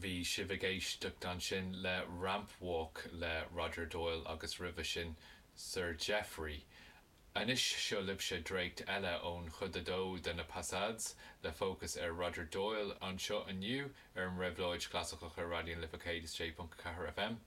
Bhí sibh ag éisteacht ansin le Ramp Walk le Roger Doyle agus roimhe sin Sir Geoffrey. Anois seo libhse dréacht eile ón chuid a dó de na Passades le fócas ar Roger Doyle anseo inniu ar an Réabhlóid Chlasaiceach ar Raidió na Life 106.4 FM.